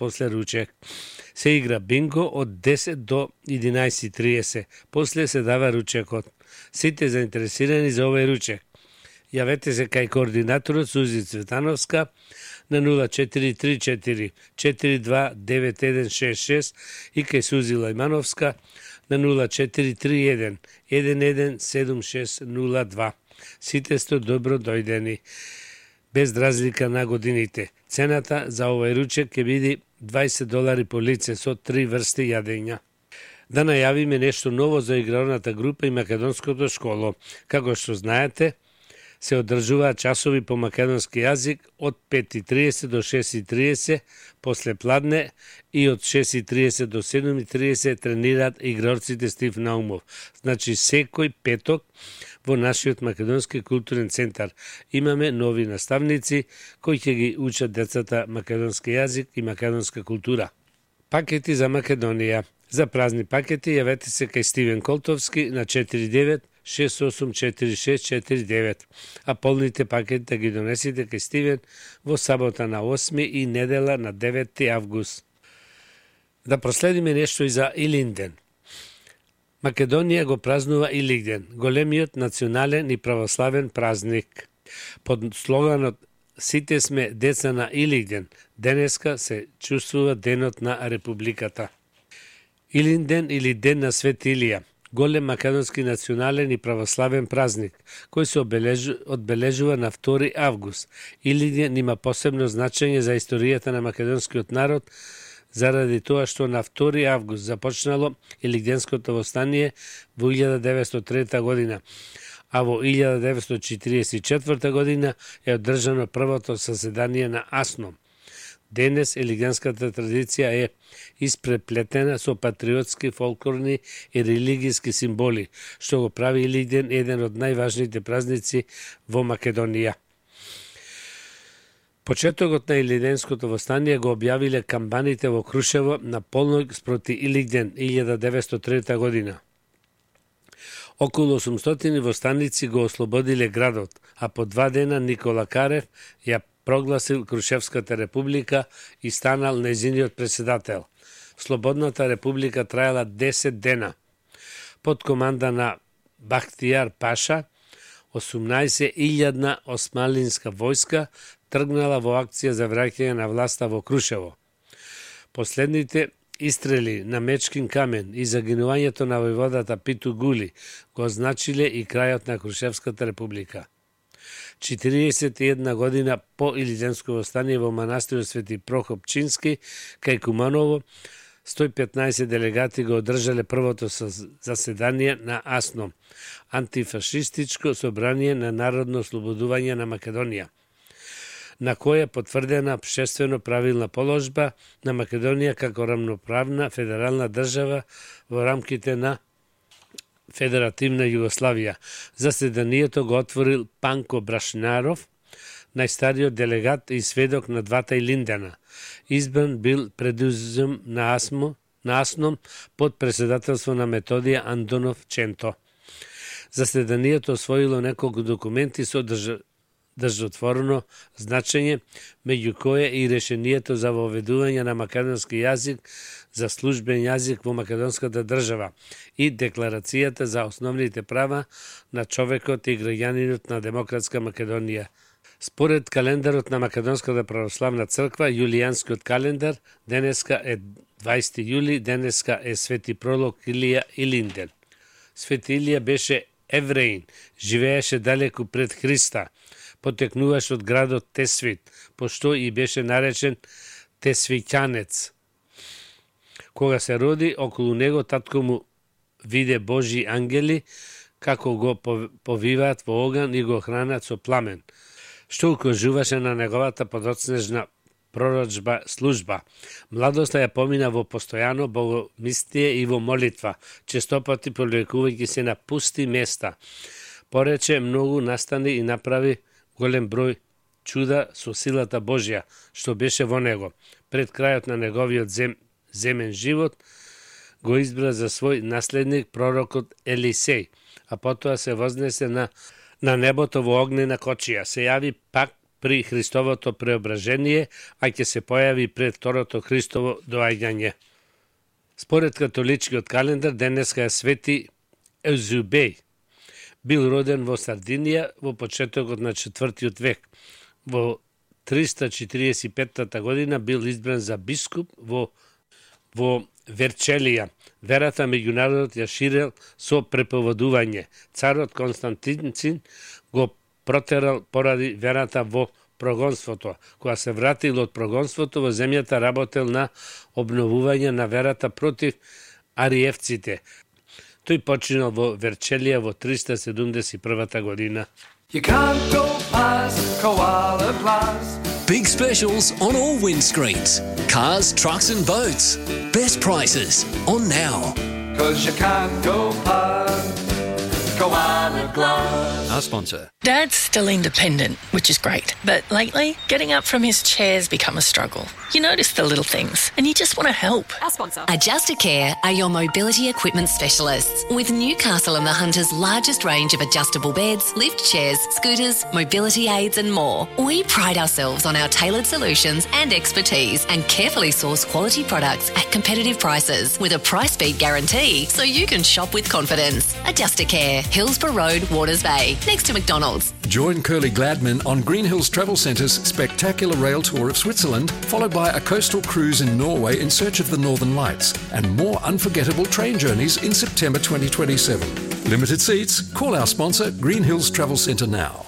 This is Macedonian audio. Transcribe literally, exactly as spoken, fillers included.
после ручек. Се игра бинго од десет до единаесет и триесет. После се дава ручекот. Сите заинтересирани за овој ручек, јавете се кај координаторот Сузи Цветановска на нула четири три четири четири два девет еден шест шест и кај Сузи Лајмановска на нула четири три еден еден еден седум шест нула два. Сите сте добро дојдени, без разлика на годините. Цената за овој ручек ќе биде дваесет долари по лице со три врсти јадења. Да најавиме нешто ново за игралната група и македонското школо. Како што знаете, се одржуваат часови по македонски јазик од пет и триесет до шест и триесет после пладне и од шест и триесет до седум и триесет тренираат игралците Стив Наумов. Значи секој петок во нашиот македонски културен центар имаме нови наставници кои ќе ги учат децата македонски јазик и македонска култура. Пакети за Македонија. За празни пакети јавете се кај Стивен Колтовски на четири девет шест осум четири шест четири девет, а полните пакети да ги донесите кај Стивен во сабота на осми и недела на деветти август. Да проследиме нешто и за Илинден. Македонија го празнува Илинден, големиот национален и православен празник. Под слоганот "Сите сме деца на Илинден", денеска се чувствува денот на Републиката. Илинден или Ден на Свет Илија, голем македонски национален и православен празник, кој се обележу, одбележува на втори август. Илинден има посебно значење за историјата на македонскиот народ, заради тоа што на втори август започнало Илинденското востание во илјада деветстотини и трета година, а во илјада деветстотини и четиридесет и четврта година е одржано првото заседание на АСНОМ. Денес илинденската традиција е испреплетена со патриотски, фолклорни и религиски символи, што го прави Илинден еден од најважните празници во Македонија. Почетокот на Илинденското востание го објавиле камбаните во Крушево на полног спроти Илинден илјада деветстотини и трета година. Околу осумстотини востаници го ослободиле градот, а по два дена Никола Карев ја прогласил Крушевската република и станал нејзиниот председател. Слободната република траела десет дена. Под команда на Бахтијар Паша, осумнаесет илјадна османлинска војска тргнала во акција за враќање на власта во Крушево. Последните истрели на Мечкин камен и загинувањето на војводата Питу Гули го означиле и крајот на Крушевската република. четириесет и една година по Илинденско востание во манастирот Свети Прохоп Чински, кај Куманово, сто и петнаесет делегати го одржале првото заседание на АСНОМ, антифашистичко собрание на народно ослободување на Македонија, на која потврдена обштествено правилна положба на Македонија како рамноправна федерална држава во рамките на Федеративна Југославија. Заседанието го отворил Панко Брашнаров, најстариот делегат и сведок на двата Илиндена. Избран бил предузем на АСМО, на АСНОМ под председателство на Методија Андонов Ченто. Заседанието освоило неколку документи со држ... држотворно значење, меѓу кое и решението за воведување на македонски јазик за службен јазик во македонската држава и Декларацијата за основните права на човекот и граѓанинот на Демократска Македонија. Според календарот на Македонската православна црква, јулијанскиот календар, денеска е дваесети јули, денеска е Свети Пролог Илија Илинден. Свети Илија беше евреин, живееше далеку пред Христа, потекнуваш од градот Тесвит, пошто и беше наречен Тесвиќанец. Кога се роди, околу него татко му виде Божи ангели, како го повиваат во оган и го хранат со пламен, што укажуваше на неговата подоцнежна пророчба служба. Младоста ја помина во постојано богомислие и во молитва, честопати повлекувајќи се на пусти места. Порече многу настани и направи голем број чуда со силата Божја, што беше во него. Пред крајот на неговиот зем, земен живот, го избра за свој наследник пророкот Елисеј, а потоа се вознесе на, на небото во огнена кочија. Се јави пак при Христовото преображение, а ќе се појави пред второто Христово доаѓање. Според католичкиот календар, денеска е свети Еузебиј. Бил роден во Сардинија во почетокот на четвртиот век. Во триста четириесет и петта година бил избран за бискуп во во Верчелија. Верата меѓу народот ја ширел со преповедување. Царот Константин го протерал поради верата во прогонството. Кога се вратил од прогонството во земјата, работел на обновување на верата против ариевците. Тој починал во Верчелија во триста седумдесет и прва година. You can't go past Koala Plaza. Big specials on all windscreens. Cars, trucks and boats. Best prices on now. Cause you can't go past Koala Glass. Our sponsor. Dad's still independent, which is great. But lately, getting up from his chair's become a struggle. You notice the little things, and you just want to help. Our sponsor. Adjustacare are your mobility equipment specialists. With Newcastle and the Hunter's largest range of adjustable beds, lift chairs, scooters, mobility aids and more. We pride ourselves on our tailored solutions and expertise and carefully source quality products at competitive prices with a price beat guarantee so you can shop with confidence. Adjustacare, Hillsborough Road, Waters Bay, next to McDonald's. Join Curly Gladman on Green Hills Travel Centre's spectacular rail tour of Switzerland, followed by a coastal cruise in Norway in search of the Northern Lights, and more unforgettable train journeys in September twenty twenty-seven. Limited seats. Call our sponsor, Green Hills Travel Centre now.